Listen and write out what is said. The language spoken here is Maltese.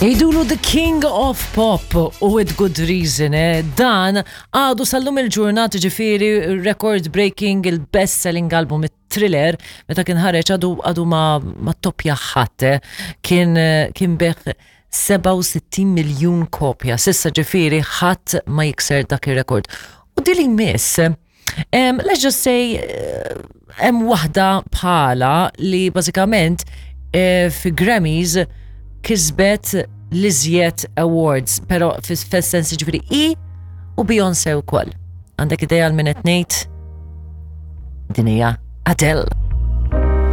Jgħidulu The King of Pop u with good reason, eh? Dan għadu sal-lum il-ġurnata ġifiri record breaking il-best selling album Thriller meta kien ħareġ għadu għadu ma, ma toppja ħadd, eh? Kien kien beħ 67 miljun kopja. Sissa ġifiri ħadd ma jikser dak ir-rekord. U dili miss, um, let's just say eh, hemm waħda bħala li bażikament eh, fi Grammys kisbet l-iżjed awards, pero fis-sens ġifiri i u Beyoncé wkoll. Għandek idea għal min qed ngħid? Din hija Adele.